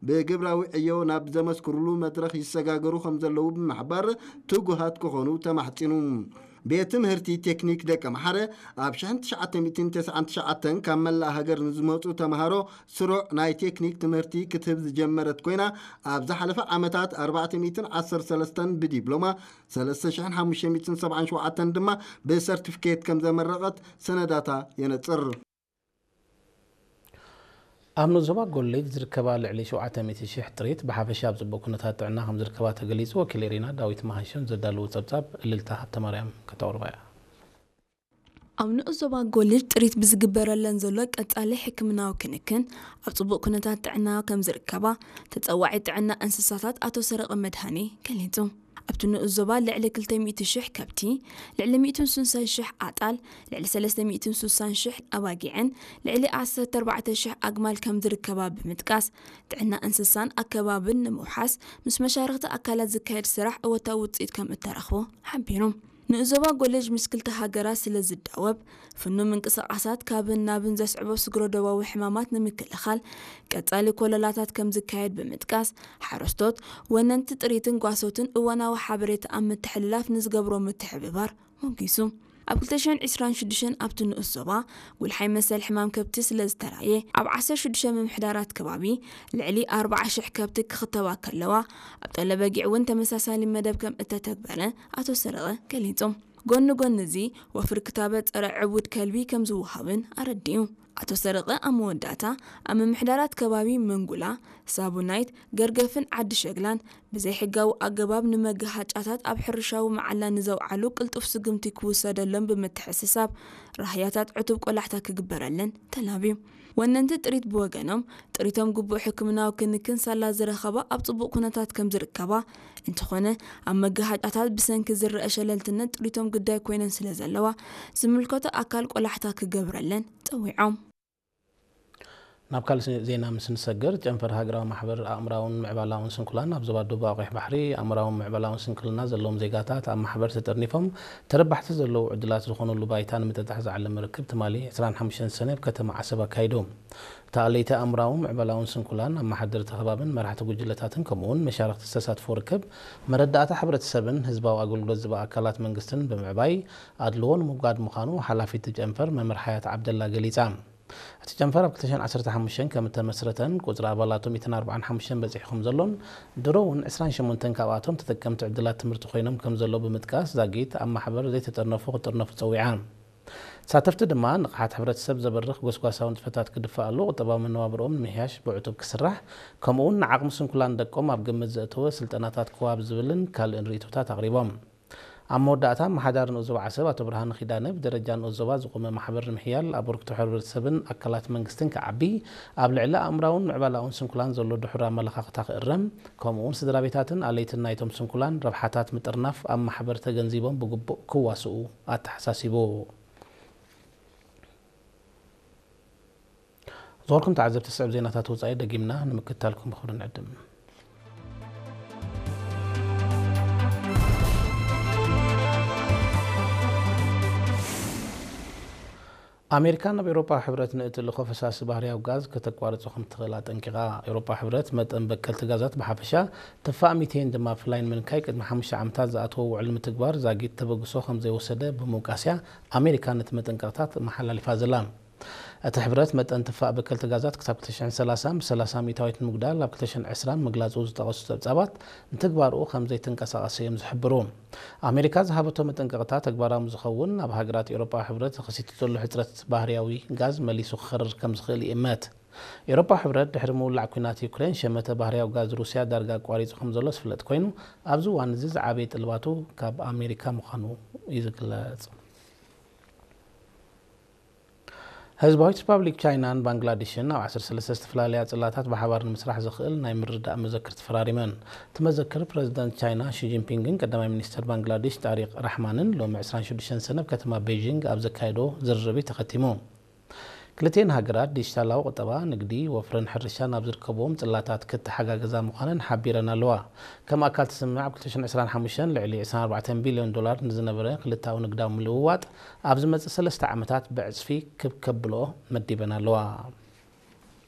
ብግብራዊ ዕዮ ናብ ዘመስክሩሉ መድረኽ ይሰጋገሩ ከም ዘለዉ ብምሕባር ትጉሃት ክኾኑ ተማሕጺኑ። ቤት ትምህርቲ ቴክኒክ ደቀ መሓረ ኣብ ሽሕን ትሽዓተ ሚእትን ተስዓን ትሽዓተን ካብ መላእ ሃገር ንዝመጹ ተምሃሮ ስሩዕ ናይ ቴክኒክ ትምህርቲ ክትህብ ዝጀመረት ኮይና፣ ኣብ ዝሓለፈ ዓመታት ኣርባዕተ ሚእትን ዓሰርተ ሰለስተን ብዲፕሎማ፣ ሰለስተ ሽሕን ሓሙሽተ ሚእትን ሰብዓን ሸውዓተን ድማ ብሰርቲፊኬት ከም ዘመረቐት ሰነዳታ የነጽር። ኣብ ንኡስ ዞባ ጎሌጅ ዝርከባ ልዕሊ ሸውዓተ ሚእቲ ሽሕ ጥሪት ብሓፈሻ ኣብ ጽቡቕ ኩነታት ጥዕና ከም ዝርከባ ተገሊጹ። ወኪል ኤሪና ዳዊት መሃንሸም ዘዳለዎ ጸብጻብ እልልታ ሃብተማርያም ከተቕርባ እያ። ኣብ ንኡስ ዞባ ጎሌጅ ጥሪት ብዝግበረለን ዘሎ ቀጻሊ ሕክምናዊ ክንክን ኣብ ጽቡቕ ኩነታት ጥዕና ከም ዝርከባ ተጸዋዒ ጥዕና እንስሳታት ኣቶ ሰረቐ መድሃኔ ገሊጹ። ኣብቲ ንኡስ ዞባ ልዕሊ ክልተ ሚእቲ ሽሕ ከብቲ፣ ልዕሊ ሚእትን ስሳን ሽሕ ኣጣል፣ ልዕሊ ሰለስተ ሚእትን ስሳን ሽሕ ኣባጊዕን ልዕሊ ዓሰርተ ኣርባዕተ ሽሕ ኣግማል ከም ዝርከባ ብምጥቃስ፣ ጥዕና እንስሳን ኣከባብን ንምውሓስ ምስ መሻርኽቲ ኣካላት ዝካየድ ስራሕ እወታዊ ውፅኢት ከም እተረኽቦ ሓቢሩ። ንኡስ ዞባ ጎሌጅ ምስ ክልተ ሃገራት ስለ ዝዳወብ፣ ፍኑው ምንቅስቓሳት ካብን ናብን ዘስዕቦ ስግረ ዶባዊ ሕማማት ንምክልኻል ቀጻሊ ኮለላታት ከም ዝካየድ ብምጥቃስ፣ ሓረስቶት፣ ወነንቲ ጥሪትን ጓሶትን እዋናዊ ሓበሬታ ኣብ ምትሕልላፍ ንዝገብሮ ምትሕብባር ሞጊሱ። ኣብ ክልተ ሽሕን ዕስራን ሽዱሽተን ኣብቲ ንኡስ ዞባ ጉልሓይ መሰል ሕማም ከብቲ ስለ ዝተራየ፣ ኣብ ዓሰርተ ሽዱሽተ ምምሕዳራት ከባቢ ልዕሊ ኣርባዓ ሽሕ ከብቲ ክኽተባ ከለዋ፣ ኣብ ጠለበጊዕ እውን ተመሳሳሊ መደብ ከም እተተግበረ ኣቶ ሰረቐ ገሊጹ። ጎኒ ጎኒ እዚ፣ ወፍሪ ክታበት ጸረ ዕቡድ ከልቢ ከም ዝወሃብን ኣረዲኡ። ኣቶ ሰረቐ ኣብ መወዳእታ፣ ኣብ ምምሕዳራት ከባቢ መንጉላ፣ ሳቡናይት፣ ገርገፍን ዓዲ ሸግላን ብዘይሕጋዊ ኣገባብ ንመገሃጫታት ኣብ ሕርሻዊ መዓላ ንዘውዓሉ ቅልጡፍ ስጉምቲ ክውሰደሎም ብምትሕስሳብ፣ ራህያታት ዕቱብ ቆላሕታ ክግበረለን ተላብዩ። ወነንቲ ጥሪት ብወገኖም፣ ጥሪቶም ግቡእ ሕክምናዊ ክንክን ሳላ ዝረኸባ ኣብ ጽቡቕ ኩነታት ከም ዝርከባ፣ እንተኾነ ኣብ መገሃጫታት ብሰንኪ ዝረአ ሸለልትነት ጥሪቶም ግዳይ ኮይነን ስለ ዘለዋ፣ ዝምልከቶ ኣካል ቆላሕታ ክገብረለን ጸዊዖም። ናብ ካልእ ዜና ምስ ንሰግር፣ ጨንፈር ሃገራዊ ማሕበር ኣእምራውን ምዕባላውን ስንኩላን ኣብ ዞባ ደቡብ ኣቑሕ ባሕሪ ኣእምራውን ምዕባላውን ስንክልና ዘለዎም ዜጋታት ኣብ ማሕበር ተጠርኒፎም ተረባሕቲ ዘለዉ ዕድላት ዝኾኑሉ ባይታ ንምጥጣሕ ዝዓለመ ርክብ ትማሊ ዕስራን ሓሙሽተን ሰነ ኣብ ከተማ ዓሰብ ኣካይዱ። እታ ኣለይቲ ኣእምራውን ምዕባላውን ስንኩላን ኣመሓደርቲ ከባብን መራሕቲ ጉጅለታትን ከምኡውን መሻርኽቲ ዝተሳትፎ ርክብ መረዳእታ ሕብረተሰብን ህዝባዊ ኣገልግሎት ዝባ ኣካላት መንግስትን ብምዕባይ ኣድልዎ ንምውጋድ ምዃኑ ሓላፊት ጨንፈር መምህር ሓያት ዓብደላ ገሊጻ። እቲ ጨንፈር ኣብ ክልተ ሽሕን ዓሰርተ ሓሙሽተን ከም እተመስረተን ቁጽሪ ኣባላቱ ሚእትን ኣርባዓን ሓሙሽተን በጺሑ ከም ዘሎን ድሮ እውን ዕስራን ሸሞንተን ካብኣቶም ተጠቀምቲ ዕድላት ትምህርቲ ኮይኖም ከም ዘለዉ ብምጥቃስ ዛጊት ኣብ ማሕበር ዘይተጠርነፉ ክጥርነፉ ጸዊዓ። ተሳተፍቲ ድማ ንቕሓት ሕብረተሰብ ዘበርኽ ጎስጓሳዊ ንጥፈታት ክድፋኣሉ፣ ቁጠባዊ መነባብርኦም ንምሕያሽ ብዕቱብ ክስራሕ፣ ከምኡውን ንዓቕሚ ስንኩላን ደቆም ኣብ ግምት ዘእተወ ስልጠናታት ክወሃብ ዝብልን ካልእን ርእይቶታት ኣቕሪቦም። ኣብ መወዳእታ ኣመሓዳሪ ንኡስ ዞባ ዓሰብ ኣቶ ብርሃነ ኪዳነ ብደረጃ ንኡስ ዞባ ዝቖመ ማሕበር ንምሕያል ኣበርክቶ ሕብረተሰብን ኣካላት መንግስትን ክዓቢ፣ ኣብ ልዕሊ ኣእምራውን ምዕባላውን ስንኩላን ዘሎ ድሑር ኣመለኻኽታ ክእረም፣ ከምኡውን ስድራ ቤታትን ኣለይትን ናይቶም ስንኩላን ረብሓታት ምጥርናፍ ኣብ ማሕበር ተገንዚቦም ብግቡእ ክዋስኡ ኣተሓሳሲቡ። ዝኸበርኩም ተዓዘብቲ፣ ስዕብ ዜናታት ወጻኢ ደጊምና ንምክትታልኩም ብኽብሪ ንዕድም። ኣሜሪካ ናብ ኤውሮጳ ሕብረት ንእትልእኾ ፈሳሲ ባህርያዊ ጋዝ ከተቋርጾ ከም ትኽእል ኣጠንቂቓ። ኤውሮጳ ሕብረት መጠን በከልቲ ጋዛት ብሓፈሻ፣ ትፋእ ሚቴን ድማ ብፍላይ ንምንካይ ቅድሚ ሓሙሽተ ዓመታት ዝኣተዎ ውዕል ምትግባር ዛጊት ተበግሶ ከም ዘይወሰደ ብምውቃስያ ኣሜሪካ ነቲ መጠንቀቕታት መሓላሊፋ ዘላ። እቲ ሕብረት መጠን ትፋእ በከልቲ ጋዛት ክሳብ ክልተ ሽሕን ሰላሳን ብሰላሳ ሚእታዊት ንምጉዳል ኣብ ክልተ ሽሕን ዕስራን ምግላጹ ዝጠቐሱ ጸብጻባት፣ ንትግባርኡ ከም ዘይትንቀሳቐስ እዮም ዝሕብሩ። ኣሜሪካ ዝሃበቶ መጠንቀቕታ ተግባራዊ ዝኸውን፣ ኣብ ሃገራት ኤውሮጳ ሕብረት ተኸሲቱ ዘሎ ሕጽረት ባህርያዊ ጋዝ መሊሱ ክኸርር ከም ዝኽእል ይእመት። ኤውሮጳ ሕብረት ድሕሪ ምውላዕ ኲናት ዩክሬን ሸመተ ባህርያዊ ጋዝ ሩስያ ዳርጋ ኣቋሪጹ ከም ዘሎ ዝፍለጥ ኮይኑ፣ ኣብዚ እዋን እዚ ዝዓበየ ጥልባቱ ካብ ኣሜሪካ ምዃኑ እዩ ዝግለጽ። ህዝባዊት ሪፓብሊክ ቻይናን ባንግላዴሽን ኣብ ዓሰርተ ሰለስተ ዝተፈላለያ ጽላታት ብሓባር ንምስራሕ ዘኽእል ናይ ምርድዳእ መዘክር ተፈራሪመን። እቲ መዘክር ፕረዚደንት ቻይና ሺ ጂንፒንግን ቀዳማይ ሚኒስተር ባንግላዴሽ ጣሪቅ ራሕማንን ሎሚ ዕስራን ሽዱሽተን ሰነ ኣብ ከተማ ቤይጂንግ ኣብ ዘካየዶ ዝርርብ እዩ ተኸቲሙ። ክልቲኤን ሃገራት ዲጂታላዊ ቁጠባ፣ ንግዲ፣ ወፍርን ሕርሻን ኣብ ዝርከብዎም ጽላታት ክተሓጋገዛ ምዃነን ሓቢረን ኣለዋ። ከም ኣካል እቲ ስምምዕ ኣብ ክልተ ሽሕን ዕስራን ሓሙሽተን ልዕሊ ዕስራን ኣርባዕተን ቢልዮን ዶላር ንዝነበረ ክልተኣዊ ንግዳዊ ምልውዋጥ ኣብ ዝመጽእ ሰለስተ ዓመታት ብዕጽፊ ክብ ከብልኦ መዲበን ኣለዋ።